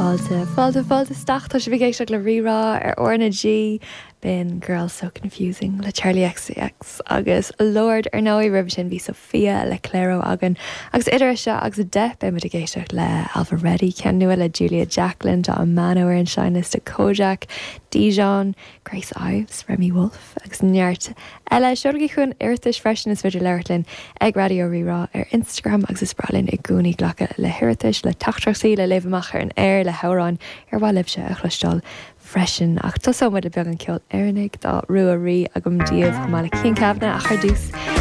Fáilte, fáilte, fáilte isteach. Tá sibh ag éisteacht le Rí-Rá ar R na G. B'in Girl So Confusing le Charli XCX agus Lorde ar ndóigh. Roimhe sin bhí Sophia le Clairo againn. Agus idir seo agus 10 beidh muid ag éisteacht le Ailbhe Reddy, ceann nua le Julia Jacklin, tá Amano ar an seinnliosta, Kojaque, Dijon, Grace Ives, Remi Wolf agus neart eile. Seolaigí chugainn iarratais freisin, is féidir labhairt linn ag Raidió Rí-Rá ar Instagram agus is breá linn i gcónaí glacadh le hiarratais, le teachtaireachtaí le léamh amach ar an aer, le hamhráin ar mhaith libhse a chloisteáil freisin. Ach tosóidh muid le beagán ceoil Éireannaigh, tá Rua Rí agam daoibh chomh maith le Cian Kavanagh ach ar dtús.